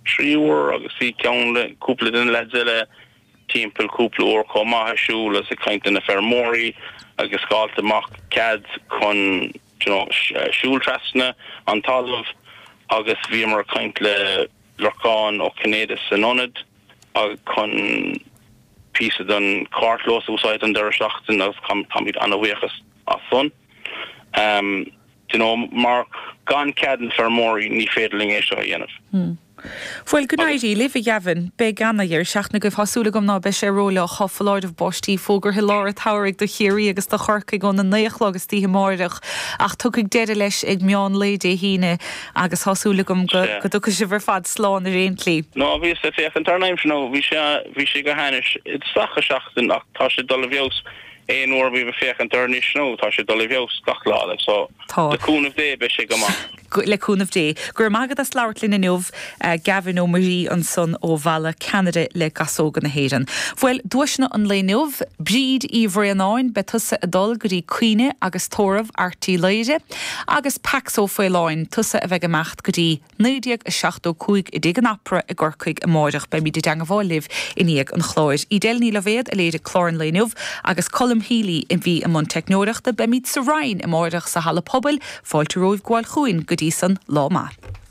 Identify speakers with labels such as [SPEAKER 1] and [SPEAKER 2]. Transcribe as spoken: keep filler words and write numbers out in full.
[SPEAKER 1] trí uair agus bhí ceann le cúpla den leaids eile timpeall cúpla uair chomh maith ag siúl agus ag caint le na feirmeoirí agus fáilt amach cead chun you know, siúl trasna an talamh agus bhíomar ag caint le Lorcán Ó Cinnéide san ionad chun píosa den carrchlós a úsáid an deireadh seachtaine agus táimid an-bhuíoch as san. Um, you know, mar gan cead na feirmeoirí ní féidir linn é seo a dhéanamh.
[SPEAKER 2] Hmm. Bhuel go n-éirí libh a Gavin beidh an-deireadh seachtaine agaibh tá súil agam ná beidh sé rófhliuch tá foláireamh báistí fógartha i lár an tsamhraidh do Chiarraí agus do Chorcaigh óna naoi a chlog istoíche amárach ach tiocfaidh deireadh leis ag meán lae Dé hAoine agus tá súil agam go dtiocfaidh sibh ar fad slán ar aon tslí.
[SPEAKER 1] No bhí sé féachaint ar an aimsir nó bhí sé bhí sé go hainnis isteach a seachtain ach tá sé dul i bhfeabhas aon uair bhí féachaint ar anois nó tá sé dul i bhfeabhas gach lá so le cúnamh Dé beidh sé go maith.
[SPEAKER 2] le cúnamh Dé. Gur magad as labhairt linn inniu uh, Gavin Ó Muirí ansan ó Bhalla Ceannaire le Gasóga na hÉireann. Bhuel duaiseanna an lae inniu, Bríd Uí Bhraonáin beidh tusa ag dul go dtí Caoineadh agus Tórramh Airt Uí Laoire, agus Pax Ó Faoláin tusa a bheidh ag imeacht go dtí naoi déag a seachtó cúig i dTigh an Opera i gCorcaigh amárach beimid i dteagmháil libh i ndiaidh an chláir. Edel Ní Loibhéad a léirigh clár an lae inniu agus Colm Healy a bhí i mbun teicneoireachta beimid sa Rinn amárach sa halla pobail, fáilte romhaibh gabháil chugainn go dtí san lá maith.